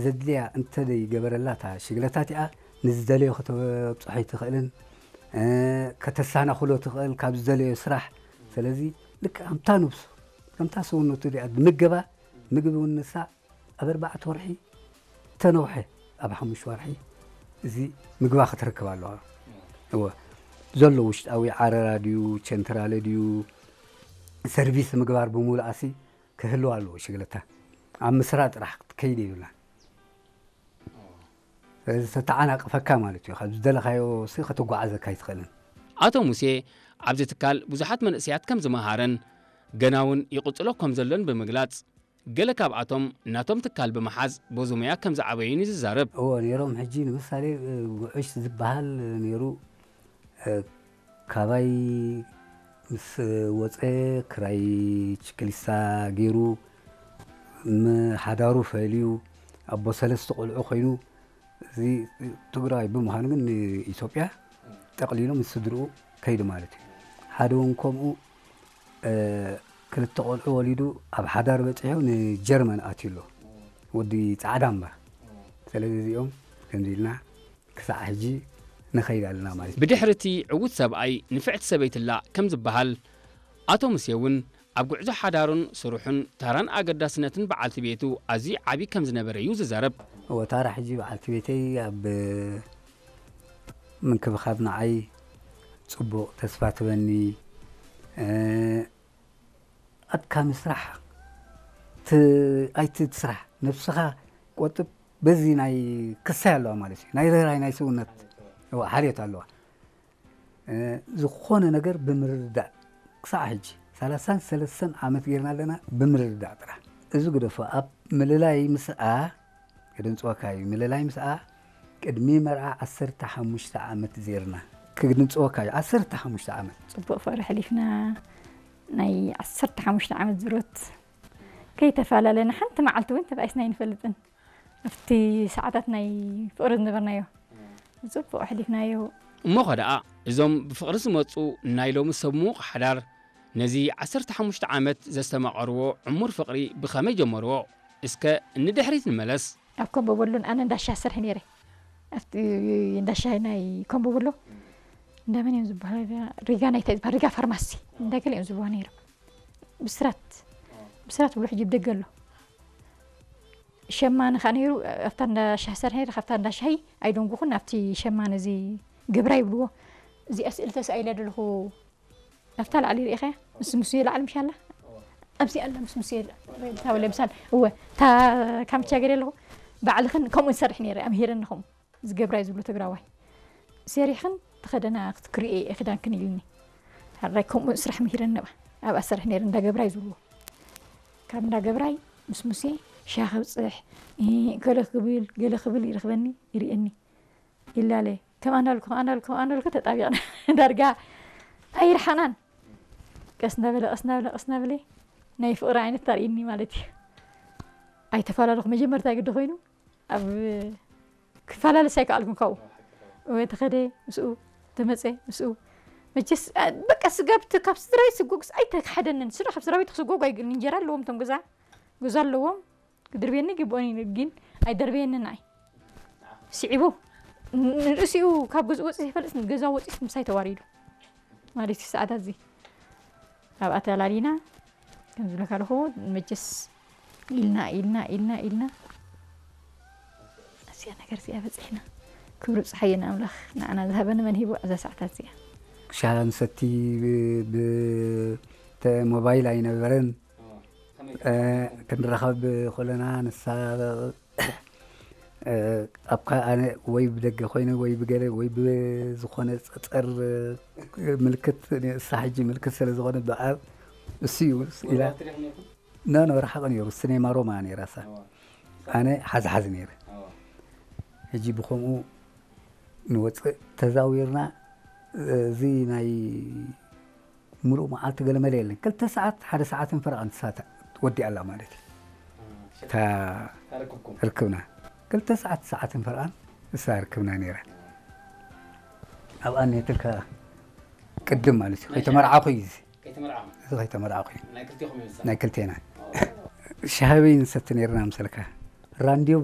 ዘድልያ እንተደይገበረላ እታ ሽግለታ እቲኣ ንዝደለዮ ከተብፅሖ ኣይትኽእልን፣ እ፣ ከተሰናኽሎ ትኽእል ካብ ዝደለዮ ስራሕ። ስለዚ ልክዕ ከምታ ነብሱ፣ ከምታ ሰውነቱ እዚኣ ዝምገባ ምግቢ እውን ንሳ ኣብ ኣርባዕተ ወርሒ ተነውሐ፣ ኣብ ሓሙሽተ ወርሒ እዚ ምግባ ክትረክብ ኣለዋ። እወ፣ ዘሎ ውሽጣዊ ዓረራ ድዩ፣ ቸንትራለ ድዩ፣ ሰርቪስ ምግባር ብምሉኣሲ ክህልዋ ኣለዎ ሽግለታ። ኣብ ምስራ ጥራሕ ክትከይድ የብላን። ስለዚ ተተዓናቕፈካ ማለት እዩ። ካብ ዝደለኻዮ ሲ ከተጓዓዘካ ኣይትኽእልን። ኣቶ ሙሴ ኣብዚ ትካል ብዙሓት መንእሰያት ከም ዝመሃረን ገና እውን ይቕጽሎ ከም ዘሎን ብምግላጽ፣ ገለ ካብኣቶም ናቶም ትካል ብምሓዝ በዚ ሞያ ከም ዝዓበዩን እዩ ዝዛረብ። እዎ፣ ነይሮም። ሕጂ ንምሳሌ፣ እ፣ ጉዕሽ ዝበሃል ነይሩ። እ፣ ካባይ ምስ ወፀ ክራይ ችክሊሳ ገይሩ፣ ም-፣ ሓዳሩ ፈልዩ፣ ኣቦ ሰለስተ ቆልዑ ኮይኑ፣ እዚ ትግራይ ብምዃኑ ግን ንኢትዮጵያ ጠቕሊሉ ምስ ስድርኡ ከይዱ ማለት እዩ። ሓደ እውን ከምኡ፣ እ፣ ክልተ ቆልዑ ወሊዱ ኣብ ሓዳር በፂሑ ንጀርመን ኣትዩ ኣሎ። ወዲ ፃዕዳ እምበር። ስለዚ እዚኦም ከምዚ ኢልና ክሳዕ ሕጂ ንኸይድ ኣለና ማለት እዩ። ብድሕሪ እቲ ዕዉት ሰብኣይ ንፍዕቲ ሰበይትላ ከም ዝበሃል፣ ኣቶ ሙሴ እውን ኣብ ጉዕዞ ሓዳሩን ስርሑን ታራን ኣገዳስነትን በዓልቲ ቤቱ ኣዝዩ ዓቢ ከም ዝነበረ እዩ ዝዛረብ። እወ፣ ታራ ሕጂ በዓልቲ ቤተይ ኣብ ምንክብኻብ ንዓይ ጽቡቕ ተስፋ ትበኒ። እ፣ ኣድካሚ ስራሕ ት-፣ ኣይት-፣ ትስራሕ፣ ነብስኻ ቆጥብ። በዚ ናይ ክሳይ ኣለዋ ማለት እዩ። ናይ ርህራይ ናይ ሰውነት፣ እዋ፣ ሓልዮት ኣለዋ። እ፣ ዝኾነ ነገር ብምርድዳእ ክሳዕ ሕጂ ሰላሳን ሰለስተን ዓመት ጌርና ኣለና፣ ብምርድዳእ ጥራሕ። እዚ ግደፎ፣ ኣብ ምልላይ ምስኣ፣ ክድንጽወካ እዩ፣ ምልላይ ምስኣ ቅድሚ መርዓ ዓሰርተ ሓሙሽተ ዓመት ዜርና፣ ክድንጽወካ እዩ፣ ዓሰርተ ሓሙሽተ ዓመት። ጽቡቕ ፍቕሪ ሕሊፍና፣ ናይ ዓሰርተ ሓሙሽተ ዓመት ዝሮት ከይተፈላለና ሓንቲ መዓልቲ እውን ተባኢስና ኣይንፈልጥን። ኣብቲ ሰዓታት ናይ ፍቕሪ ዝነበርናዮ፣ ጽቡቕ ኣሕሊፍናዮ። እሞ ኸ ደኣ፣ እዞም ብፍቕሪ ዝመጹ ናይ ሎሚ ሰብ ምዉቕ ሓዳር፣ ነዚ ዓሰርተ ሓሙሽተ ዓመት ዘስተማቐርዎ ዕሙር ፍቕሪ ብኸመይ ጀመርዎ? እስከ ንድሕሪት ንመለስ። ኣብ ኮምቦ በሎን ኣነ እንዳሻ ሰርሕ ነይረ። ኣብቲ እንዳሻ ናይ ኮምቦ በሎ፣ እንዳመን እዮም ዝበሃሉ? ሪጋ ናይ እንታይ ዝበሃል? ሪጋ ፋርማሲ። እንዳገለ እዮም ዝበሃሉ ነይሮም። ብስራት። ብስራት ብሎ ሕጂ ብደገ ኣሎ። ሸማነ ከኣ ነይሩ፣ ኣብታ እንዳ ሻሂ ሰርሐ ነይረ፣ ካብታ እንዳ ሻሂ ኣይደንጉኹን፣ ናብቲ ሸማነ እዚ ገብራ ይብልዎ። እዚኣ ስእሊ ተሳኢለ ዘለኹ፣ ኣብታ ላዕሊ ርኢኸያ? ምስ ሙሴ ላዕሊ ምሽ ኣላ? ኣብዚ ኣላ ምስ ሙሴ፣ እታ ወለ ምሳል፣ እወ፣ እታ ካምቻ ገለ ኣለኹ። ባዕልኽን ከምኡ ንሰርሕ ነይረ፣ ኣምሂረኒ ከምኡ። ዝገብራ እዩ ዝብሎ ትግራዋይ። ሰሪሕኽን ተኸደና ክትክርእየ እየ ክዳንክን ኢልኒ። ሓራይ ከምኡ ስራሕ ምሂረኒ ነባ። ኣብኣ ሰርሕ ነይረ እንዳ ገብራይ ዝብልዎ። ካብ እንዳ ገብራይ ምስ ሙሴ ሻሂ ከብፅሕ፣ እ፣ ገለ ክብል፣ ገለ ክብል ይረኽበኒ፣ ይርእየኒ። ይላለ። ከም ኣናልኩ፣ ከም ኣናልኩ፣ ከም ኣናልኩ ተጣቢቕና። ዳርጋ ኣይርሓናን። ቀስ እናበለ፣ ቀስ እናበለ፣ ቀስ እናበለ ናይ ፍቕሪ ዓይነት ታርእየኒ ማለት እዩ። ኣይተፈላለኹ። መጀመርታ ግዲ ኮይኑ ኣብ ክፈላለስ ኣይከኣልኩን ካብኡ። ወይ ተኸደ ምስኡ፣ ተመጸ ምስኡ። መቸስ፣ አ፣ በቃ ስጋብ ት-፣ ካብ ስድራይ ስጎግስ ኣይተሓደንን። ስድራ ካብ ስድራ ቤት ክስጎጉ ኣይግልን። እንጀራ ኣለዎም እቶም ገዛ፣ ገዛ ኣለዎም። ክድርብየኒ ይግብኦን እዩ፣ ግን ኣይደርብየንን ንዓይ። ስዒቡ፣ ን-፣ ንርእሲኡ ካብ ገዝኡ ወጺኡ ይፈልጥ፣ ገዛ ወጺኡ ምሳይ ተዋሪዱ። ማለት እዩ ሰዓታት እዚ። ኣብኣ ተላሊና፣ ከም ዝብለካ ኣለኹ፣ መቸስ ኢልና፣ ኢልና፣ ኢልና፣ ኢልና፣ እዚኣ ነገር እዚኣ በጺሕና። ክብሪ ጸሓየ ንኣምላኽ፣ ንዓና ዝሃበኒ መን ሂቡ እዛ ሰዓታት እዚኣ። ሻሂ ንሰቲ ብ-፣ ብ-፣ ተ-፣ ሞባይል ኣይነበረን። እ፣ ክንራኸብ ከለና ንሳ፣ እ፣ ኣብ ከ-፣ ኣነ ወይ ብደገ ኮይነ ወይ ብገለ ወይ ብዝኾነ ጸጸር፣ እ፣ ምልክት፣ ንሳ ሕጂ ምልክት ስለ ዝኾነ ብኣብ እሱ እዩ ኢላ። ኖ፣ ኖ፣ ርሓቕ ነይሩ። ሲኔማ ሮማ ነይራ እሳ። ኣነ ሓዝሓዝ ነይረ። ሕጂ ብኸምኡ ንወጽእ ተዛዊርና፣ እዚ ናይ ምሉእ መዓልቲ ገለ መለ የለን። ክልተ ሰዓት፣ ሓደ ሰዓትን ፈረቓን ንሳ ወዲኣ ኣላ ማለት እዩ። እታ ርክብና። ክልተ ሰዓት፣ ሰዓትን ፈረቓን ንሳ ርክብና ነይራ። ኣብኣ እኒሀትልካ ቅድም ማለት እዩ። ከይተመርዓኹ እዩ እዚ። ከይተመርዓኹ? እዚ ከይተመርዓኹ እዩ። ናይ ክልቴና። ሻሂ በይ ንሰቲ ነይርና ምሰልካ። ራንድዮ